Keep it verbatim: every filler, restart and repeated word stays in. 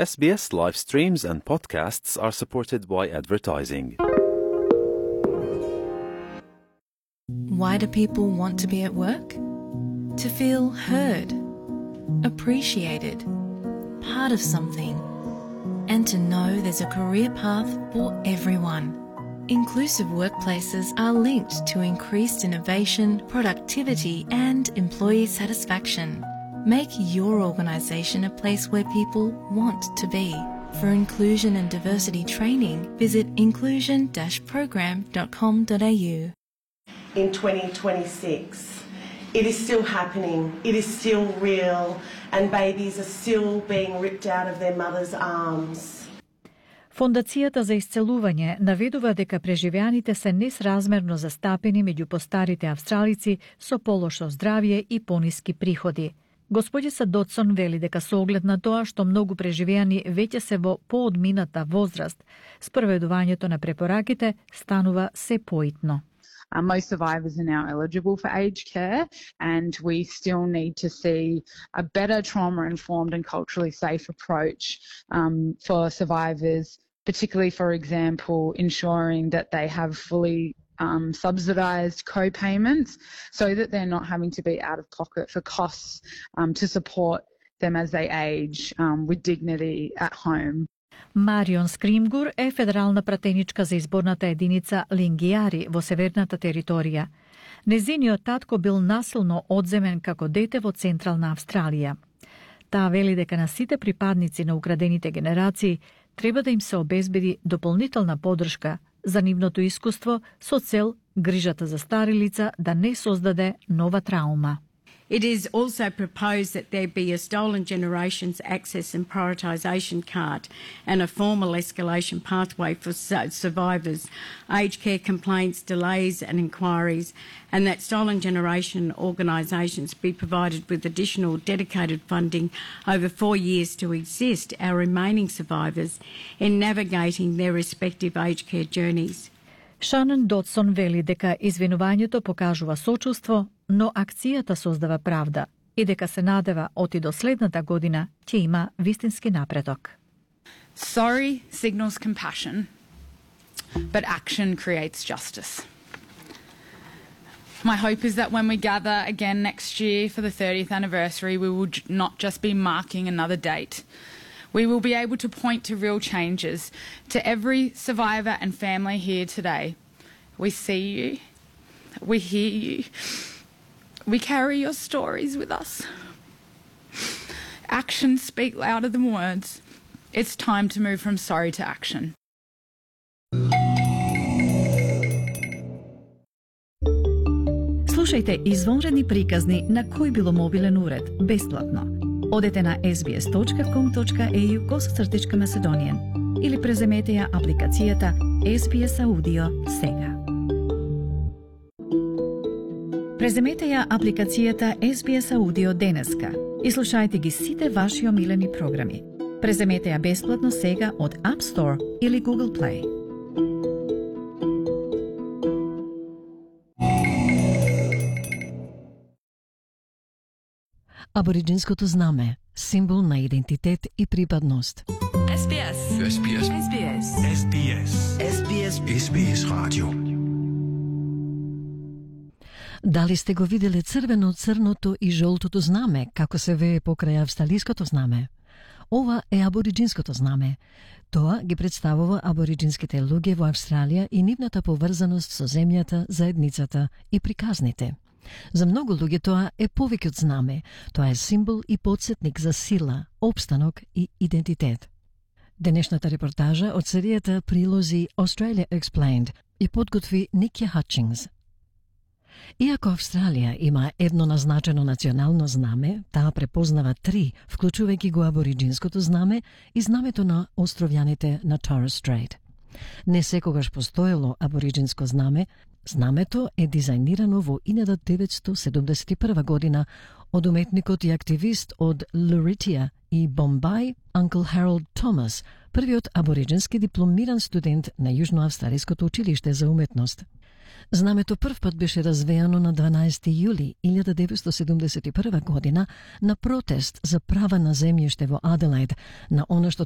S B S live streams and podcasts are supported by advertising. Why do people want to be at work? To feel heard, appreciated, part of something, and to know there's a career path for everyone. Inclusive workplaces are linked to increased innovation, productivity, and employee satisfaction. Make your organisation a place where people want to be. For inclusion and diversity training, visit inclusion dash program dot com dot a u. In twenty twenty-six, it is still happening, it is still real, and babies are still being ripped out of their mothers' arms. Фондацијата за исцелување наведува дека преживеаните се несразмерно застапени меѓу постарите австралици со полошо здравје и пониски приходи. Господица Дотсон вели дека со оглед на тоа што многу преживеани веќе се во поодмината возраст, спроведувањето на препораките станува се поитно. Uh, most survivors are now eligible for aged care, and we still need to see a better trauma-informed and culturally safe approach um, for survivors, particularly, for example, ensuring that they have fully um, subsidised co-payments so that they're not having to be out of pocket for costs um, to support them as they age um, with dignity at home. Марион Скримгур е федерална пратеничка за изборната единица Лингијари во северната територија. Незиниот татко бил насилно одземен како дете во Централна Австралија. Таа вели дека на сите припадници на украдените генерации треба да им се обезбеди дополнителна поддршка за нивното искуство со цел грижата за стари лица да не создаде нова траума. It is also proposed that there be a Stolen Generations Access and Prioritisation card and a formal escalation pathway for survivors, aged care complaints, delays and inquiries, and that Stolen Generation organisations be provided with additional dedicated funding over four years to assist our remaining survivors in navigating their respective aged care journeys. Шанон Дотсон вели дека извинувањето покажува сочувство, но акцијата создава правда и дека се надева оти до следната година ќе има вистински напредок. Sorry signals compassion, but action creates justice. My hope is that when we gather again next year for the thirtieth anniversary, we will not just be marking another date. We will be able to point to real changes. To every survivor and family here today, we see you, we hear you, we carry your stories with us. Actions speak louder than words. It's time to move from sorry to action. Слушајте извонредни приказни на кој било мобилен уред, бесплатно. Одете на ес би ес точка ком точка е ю косацртичка Macedonian или преземете ја апликацијата Ес Би Ес Аудио сега. Преземете ја апликацијата Ес Би Ес Аудио денеска и слушајте ги сите ваши омилени програми. Преземете ја бесплатно сега од App Store или Google Play. Абориджинското знаме, символ на идентитет и припадност. Ес Би Ес. Ес Би Ес. Ес Би Ес. Ес Би Ес. Ес Би Ес. Ес Би Ес радио. Дали сте го виделе црвено-црното и жолтото знаме, како се вее покрај австралиското знаме? Ова е абориджинското знаме. Тоа ги представува абориджинските луѓе во Австралија и нивната поврзаност со земјата, заедницата и приказните. За многу луѓе тоа е повеќе од знаме, тоа е символ и потсетник за сила, опстанок и идентитет. Денешната репортажа од серијата прилози Australia Explained и подготви Никја Хатчингс. Иако Австралија има едно назначено национално знаме, таа препознава три, вклучувајќи го абориджинското знаме и знамето на островјаните на Torres Strait. Не секогаш постоело абориджинско знаме. Знамето е дизајнирано во илјада деветстотини седумдесет и прва година од уметникот и активист од Луритија и Бомбај, Uncle Harold Thomas, првиот абориджински дипломиран студент на Јужноавстралиското училиште за уметност. Знамето првпат беше развеано на дванаесети јули илјада деветстотини седумдесет и прва година на протест за права на земјиште во Аделаид, на она што